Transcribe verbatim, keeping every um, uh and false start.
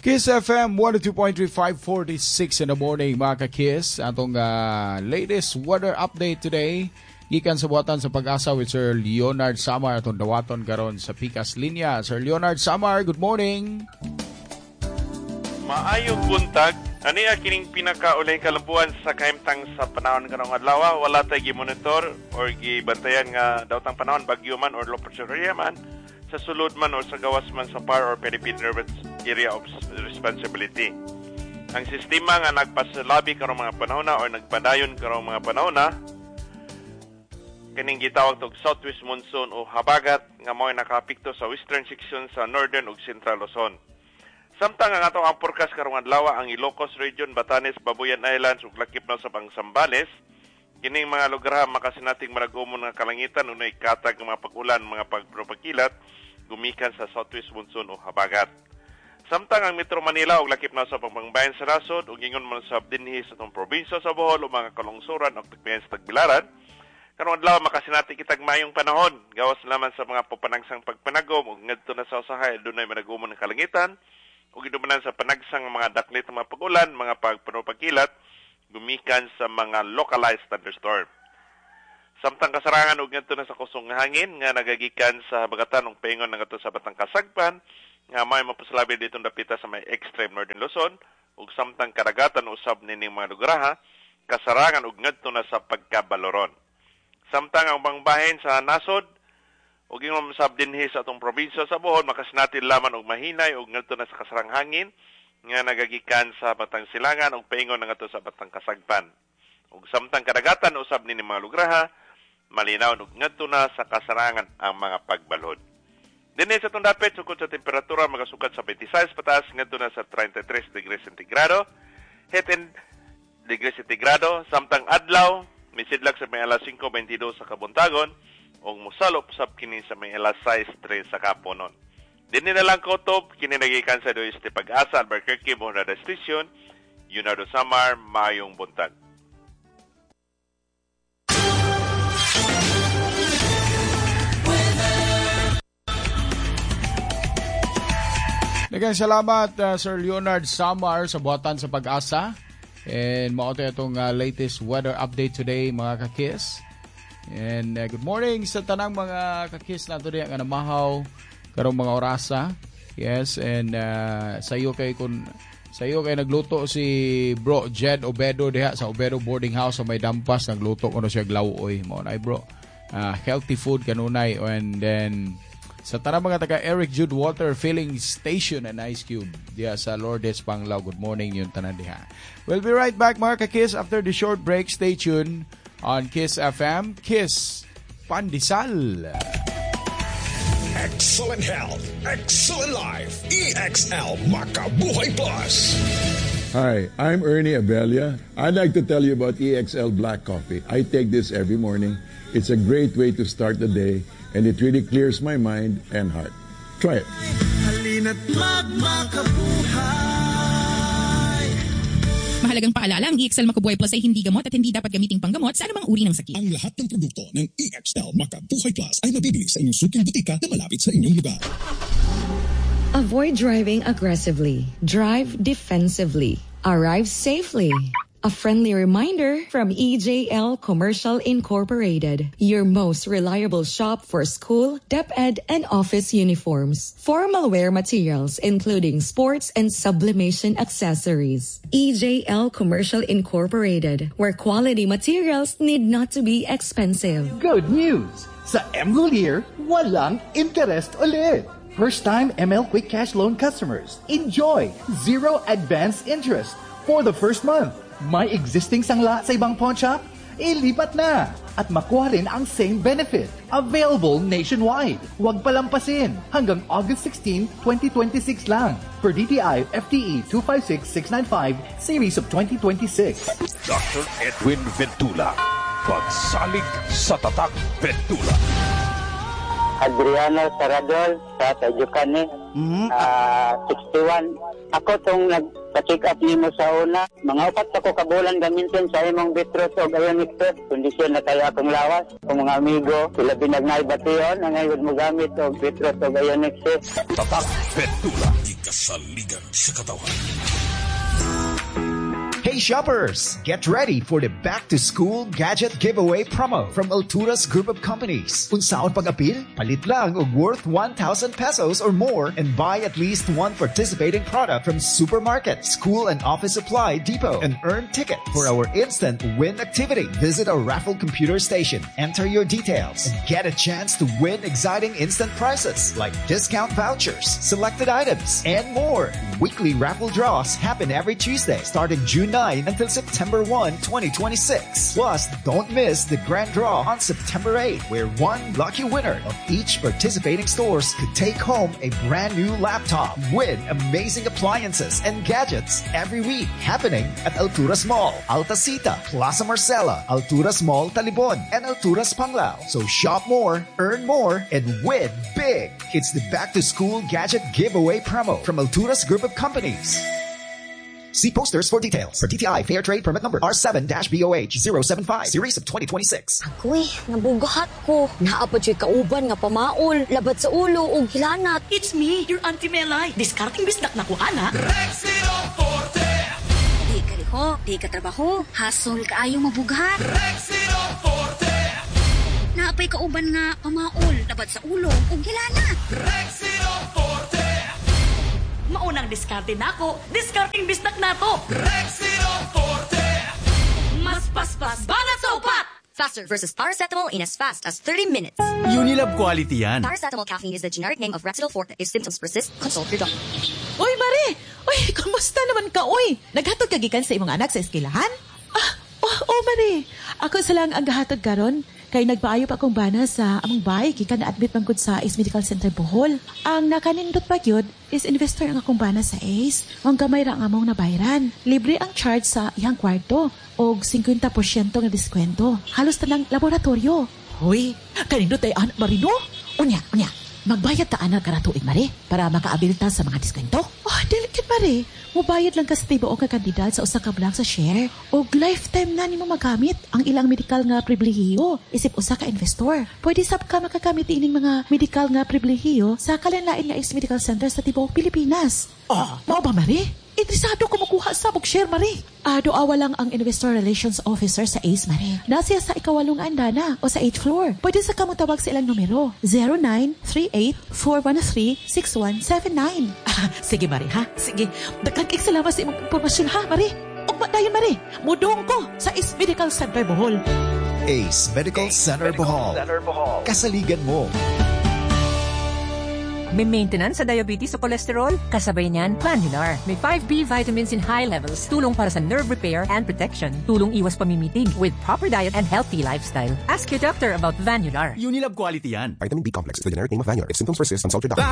Kiss F M one oh two point three, five forty-six in the morning, mga ka-Kiss. Atong uh, latest weather update today gikan sa buhatan sa Pag-asa with Sir Leonard Samar, atong dawaton karon sa Pikas Linya. Sir Leonard Samar, good morning. Maayong buntag. Ania kining pinakaulahing kalambuan sa kahimtang sa panahon karong adlaw. Wala tay gi-monitor or gibantayan nga daotang panahon, bagyo man or low pressure area man sa sulod man or sa gawas man sa P A R or Philippine Area of Responsibility. Ang sistema nga nagpasalabi karong mga panahon na or nagpadayon karong mga panahon na kining gitawag og southwest monsoon o habagat nga mao'y nakaapekto sa western section sa northern ug central Luzon. Samtang ang ato ang forecast karong adlaw, ang Ilocos Region, Batanes, Babuyan Islands ug lakip na sa Zambales, kining mga lugar makasinating malagumon nga kalangitan ug katag nga mga pag-ulan, mga pagpropakilat gumikan sa southwest monsoon o habagat. Samtang ang Metro Manila ug lakip na sa pangbayan sa nasod ug ingon man sab dinhi sa atong probinsya sa Bohol ug mga kalungsuran ug tagbiyan sa Tagbilaran, karong adlaw makasinati kitag maayong panahon gawas laman sa mga pupanagsang pagpanagom ug ngadto na sa usahay dunay managumon ng kalangitan ug gidumanan sa panagsang mga daklit ng mga pag-ulan, mga pagpanupagkilat gumikan sa mga localized thunderstorm. Samtang kasarangan ug ngadto na sa kusog nga hangin nga nagagikan sa habagatan ug paingon na ngadto sa Batang Kasagpan nga may mapasalabi ditong dapita sa may extreme northern Luzon, ug samtang kadagatan usab nining mga lugarha kasarangan ug ngadto na sa pagkabaloron. Samtang ang ubang bahin sa nasod ug ingon sab dinhi sa atong probinsya sa Bohol makasinati laman og mahinay ug ngadto na sa kasarang hangin nga nagagikan sa Batang Silangan ug paingon na ngadto sa Batang Kasagpan. Ug samtang kadagatan usab nini mga lugarha malinaw ug ngadto na sa kasarangan ang mga pagbalhod. Dinhi sa atong dapit, sukod sa temperatura magasukat sa twenty-six pataas ngadto na sa thirty-three degrees centigrado. Heat index degrees centigrado, samtang adlaw misidlak sa may alas singko bentidós sa kabuntagon ug mosalop sab kini sa may alas sais tres sa kaponon. Dinhi na lang kutob, kini nagikan sa D O S T Pag-asa, Albuquerque, Bohol Station, Leonardo Samar, maayong buntag. Daghang salamat, uh, Sir Leonard Samar sa buhatan sa Pag-asa. And mao to itong uh, latest weather update today, mga kakis. And uh, good morning sa tanang mga kakis nato diha nga namahaw karong mga orasa. Yes, and uh, sa iyo kay kun sa iyo kay nagluto si Bro Jed Obedo diha sa Obedo Boarding House sa may Dampas, nagluto kuno siya glauoy mo nay, bro. Uh, healthy food kanunay. And then sa tanang mga taga Eric Jude Water Filling Station and Ice Cube diha sa Lourdes, Panglao. Good morning yung tanan diha. We'll be right back, mga ka-Kiss, after the short break. Stay tuned on Kiss F M. Kiss Pandesal. Excellent health, excellent life. E X L Makabuhay Plus. Hi, I'm Ernie Abelia. I'd like to tell you about E X L Black Coffee. I take this every morning. It's a great way to start the day, and it really clears my mind and heart. Try it. Halina't magmakabuhay. Mahalagang paalala, ang E X L Makabuhay Plus ay hindi gamot at hindi dapat gamiting panggamot sa anumang uri ng sakit. Ang lahat ng produkto ng E X L Makabuhay Plus ay mabibili sa inyong suking botika na malapit sa inyong lugar. Avoid driving aggressively. Drive defensively. Arrive safely. A friendly reminder from E J L Commercial Incorporated, your most reliable shop for school, DepEd, and office uniforms, formal wear materials including sports and sublimation accessories. E J L Commercial Incorporated, where quality materials need not to be expensive. Good news! Sa M Lhuillier, walang interest ulit! First-time M L Quick Cash Loan customers, enjoy zero advance interest for the first month. May existing sangla sa ibang pawn shop? Ilipat na! At makuha rin ang same benefit. Available nationwide. Huwag palampasin. Hanggang August sixteen, twenty twenty-six lang. For D T I F T E two five six six nine five Series of twenty twenty-six. Doctor Edwin Ventula. Pagsalig sa Tatak Ventula. Adriano Saradol sa Tajukan. Mm-hmm. Uh, sixty-one. Ako tong nagpa-check up nimo sa una. Mga upat pa ko kabulan gamitin sa imong beetroot og ionic test. Kondisyon na kayo akong lawas. Kung mga amigo, sila binagnay bation, ang ngayon mo gamit og beetroot og ionic test. Tatak Petula. Ikasaligan sa katawan. Hey shoppers, get ready for the Back to School Gadget Giveaway promo from Alturas Group of Companies. Unsaon pag-apil? Palit lang og worth one thousand pesos or more and buy at least one participating product from supermarket, school and office supply depot and earn ticket for our instant win activity. Visit our raffle computer station, enter your details, and get a chance to win exciting instant prizes like discount vouchers, selected items, and more. Weekly raffle draws happen every Tuesday starting June nine until September one, twenty twenty-six. Plus, don't miss the grand draw on September eight, where one lucky winner of each participating stores could take home a brand new laptop. Win amazing appliances and gadgets every week, happening at Alturas Mall, Altacita, Plaza Marcela, Alturas Mall Talibon, and Alturas Panglao. So shop more, earn more, and win big. It's the Back to School Gadget Giveaway promo from Alturas Group of Companies. See posters for details. For D T I Fair Trade Permit Number R seven B O H zero seven five, Series of twenty twenty-six. Ako'y, nabugahat ko. Naa pa juy kauban nga pamaol, labad sa ulo ug hilanat. It's me, your Auntie Melay. Diskarteng bisdak nako ana. Rexidol Forte. Di ka liho, di ka trabaho, hasol kaayo mabughat. Rexidol Forte. Naa pay kauban nga pamaol, labad sa ulo ug hilanat. Rexidol Forte. Maunang diskarte nako, diskarteng bisdak nato. Rexidol Forte. Mas paspas banat sa upat. Faster versus paracetamol in as fast as thirty minutes. Unilab quality yan. Paracetamol caffeine is the generic name of Rexidol Forte. If symptoms persist, consult your doctor. Uy, Mare! Uy, kumusta naman ka, uy? Naghatod ka gikan sa imong anak sa eskwelahan? Ah, oh, oh, Mare. Ako sa lang ang gahatod karon kay nagpaayo pa akong bana sa among bahay gikan na-admit man gud sa Ace Medical Center Bohol. Ang nakanindot pa gyud is investor ang akong bana sa Ace. Ang gamay ra ang among nabayran. Libre ang charge sa iyang kwarto og singkwenta porsyento nga diskwento. Halos tanang laboratorio. Hoy, kanindot ay anak Marino? Unya, unya. Magbayad ta ana karang tuig, Mare, para makaabil ta sa mga diskwento. Oh, dili kid, Mare. Mubayad lang ka sa tibuok nga kantidad sa usa ka bulan sa share og lifetime na nimo magamit ang ilang medical nga pribilehiyo isip usa ka investor. Pwede sab ka makagamit ining mga medical nga pribilehiyo sa kalain-lain nga Ace Medical Center sa tibuok Pilipinas. Oh, mao ba, Mare? Interesado ko makuha sa og share, Mare. Ah, duawa lang ang Investor Relations Officer sa Ace, Mare. Naa siya sa ikawalong andana o sa eighth floor. Pwede sa kamotawag sa ilang numero. zero nine three eight, four one three, six one seven nine. Ah, sige, Mare, ha? Sige. Daghang kay salamat sa imong impormasyon, ha, Mare? Ugma dayon, Mare. Mudong ko sa Ace Medical Center Bohol. Ace Medical Center Bohol. Kasaligan mo. May maintenance sa diabetes o cholesterol? Kasabay niyan, Vanular. May five B vitamins in high levels. Tulong para sa nerve repair and protection. Tulong iwas pamimitig with proper diet and healthy lifestyle. Ask your doctor about Vanular. Unilab quality yan. Vitamin B complex is the generic name of Vanular. If symptoms persist, consult your doctor.